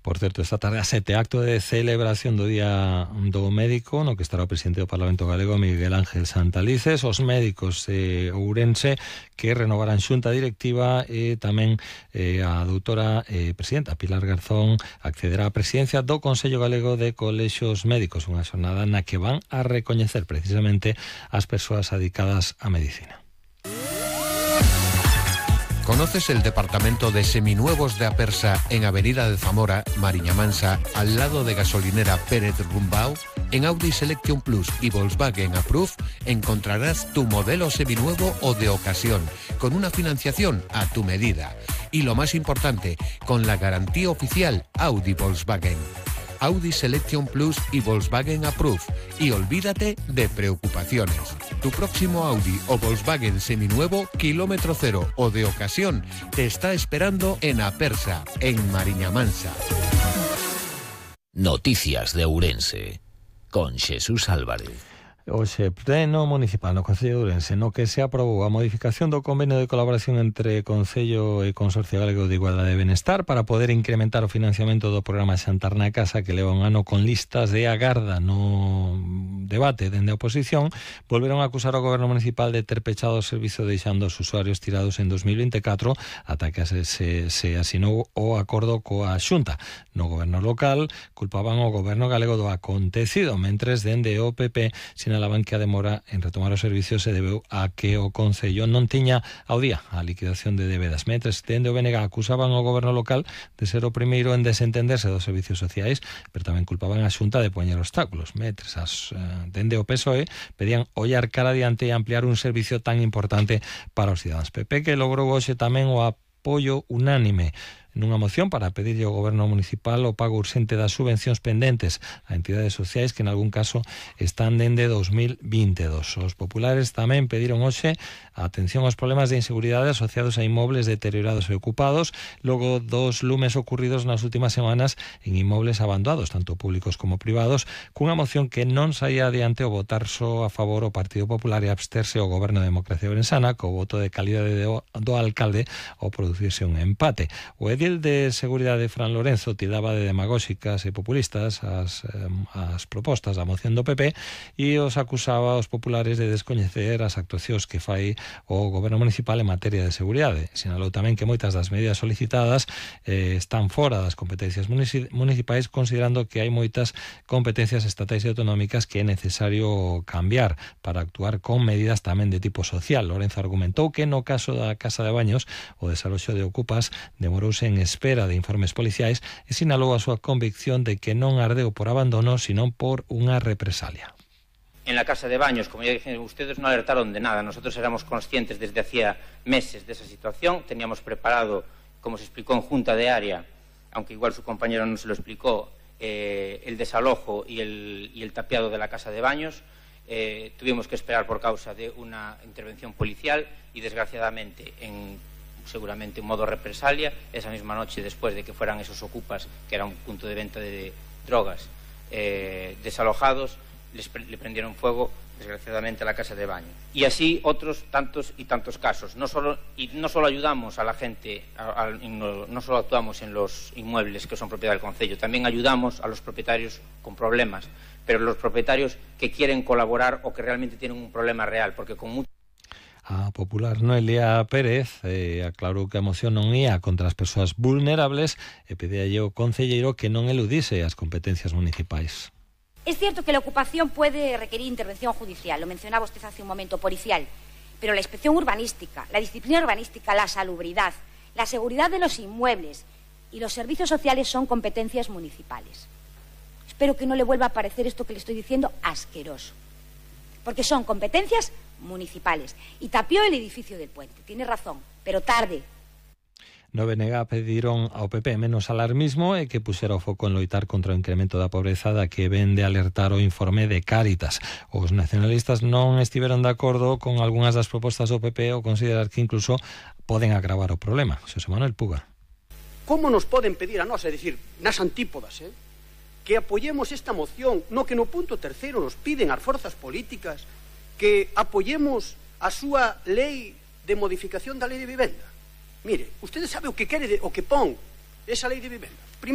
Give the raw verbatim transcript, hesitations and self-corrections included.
Por certo, esta tarde a sete acto de celebración do Día do Médico, no que estará o presidente do Parlamento Galego, Miguel Ángel Santalices, os médicos de Ourense que renovarán xunta directiva e tamén eh, a doutora eh, presidenta Pilar Garzón accederá á presidencia do Consello Galego de Colexios Médicos, unha xornada na que van a recoñecer precisamente as persoas dedicadas á medicina. ¿Conoces el departamento de seminuevos de Apersa en Avenida de Zamora, Mariña Mansa, al lado de gasolinera Pérez Rumbao? En Audi Selection Plus y Volkswagen Approve encontrarás tu modelo seminuevo o de ocasión, con una financiación a tu medida. Y lo más importante, con la garantía oficial Audi Volkswagen. Audi Selection Plus y Volkswagen Approve. Y olvídate de preocupaciones. Tu próximo Audi o Volkswagen seminuevo, kilómetro cero o de ocasión, te está esperando en Apersa, en Mariña Mansa. Noticias de Ourense, con Jesús Álvarez. Hoxe, pleno municipal no Concello de Ourense, no que se aprobou a modificación do convenio de colaboración entre Concello e Consorcio Galego de Igualdade e Benestar para poder incrementar o financiamento do programa Xantar na Casa, que leva un ano con listas de agarda no debate dende a oposición. Volveron a acusar ao goberno municipal de ter pechado o servizo deixando os usuarios tirados en dos mil vinte e catro ata que se, se, se asinou o acordo coa Xunta. No goberno local culpaban o goberno galego do acontecido, mentres dende o P P sinalaban que a demora en retomar o servicio se debeu a que o Concello non tiña ao día a liquidación de debedas, mentres dende o B N G acusaban o goberno local de ser o primeiro en desentenderse dos servicios sociais, pero tamén culpaban a Xunta de poñer obstáculos, mentres as, eh, dende o P S O E pedían ollar cara adiante e ampliar un servicio tan importante para os cidadáns. P P que logrou hoxe tamén o apoio unánime nunha moción para pedirlle ao goberno municipal o pago urxente das subvencións pendentes a entidades sociais que en algún caso están dende dos mil vinte e dos. Os populares tamén pediron hoxe a atención aos problemas de inseguridade asociados a inmobles deteriorados e ocupados logo dos lumes ocurridos nas últimas semanas en inmobles abandonados, tanto públicos como privados, cunha moción que non saía adiante o votar só a favor o Partido Popular e absterse o goberno de Democracia Ourensana co voto de calidade do, do alcalde ao producirse un empate. O edil de Seguridade Fran Lorenzo tiraba de demagóxicas e populistas as, eh, as propostas da moción do P P e os acusaba aos populares de descoñecer as actuacións que fai o goberno municipal en materia de seguridade. Sinalou tamén que moitas das medidas solicitadas eh, están fora das competencias municipais, considerando que hai moitas competencias estatais e autonómicas que é necesario cambiar para actuar con medidas tamén de tipo social. Lorenzo argumentou que no caso da Casa de Baños o desaloxo de ocupas demorouse en espera de informes policiais e sinalou a súa convicción de que non ardeu por abandono, sino por unha represalia. En la Casa de Baños, como ya dije, ustedes no alertaron de nada. Nosotros éramos conscientes desde hacía meses de esa situación. Teníamos preparado, como se explicó en Junta de Área, aunque igual su compañero no se lo explicó, eh, el desalojo y el, y el tapiado de la Casa de Baños. Eh, tuvimos que esperar por causa de una intervención policial y, desgraciadamente, en seguramente en modo represalia, esa misma noche después de que fueran esos ocupas, que era un punto de venta de drogas, eh, desalojados, les pre le prendieron fuego, desgraciadamente, a la Casa de Baño. Y así otros tantos y tantos casos. No solo, y no solo ayudamos a la gente, a, a, no, no solo actuamos en los inmuebles que son propiedad del Concello, también ayudamos a los propietarios con problemas, pero los propietarios que quieren colaborar o que realmente tienen un problema real, porque con mucho A popular Noelia Pérez eh, aclarou que a moción non ia contra as persoas vulnerables e pedíalle ao concelleiro que non eludise as competencias municipais. Es cierto que la ocupación puede requerir intervención judicial, lo mencionaba usted hace un momento, policial, pero la inspección urbanística, la disciplina urbanística, la salubridad, la seguridad de los inmuebles y los servicios sociales son competencias municipales. Espero que no le vuelva a parecer esto que le estoy diciendo asqueroso, porque son competencias municipales. Y tapió el edificio del puente, tiene razón, pero tarde. No B N G pediron ao P P menos alarmismo e que puxera o foco en loitar contra o incremento da pobreza da que ven de alertar o informe de Cáritas. Os nacionalistas non estiveron de acordo con algunhas das propostas do P P ou considerar que incluso poden agravar o problema. Xosé Manuel Puga. Como nos poden pedir a nós, é dicir, nas antípodas, eh, que apoyemos esta moción, no que no punto terceiro nos piden as forzas políticas que apoyemos a súa lei de modificación da lei de vivenda? Mire, usted sabe o que quere, de, o que pon esa lei de vivenda.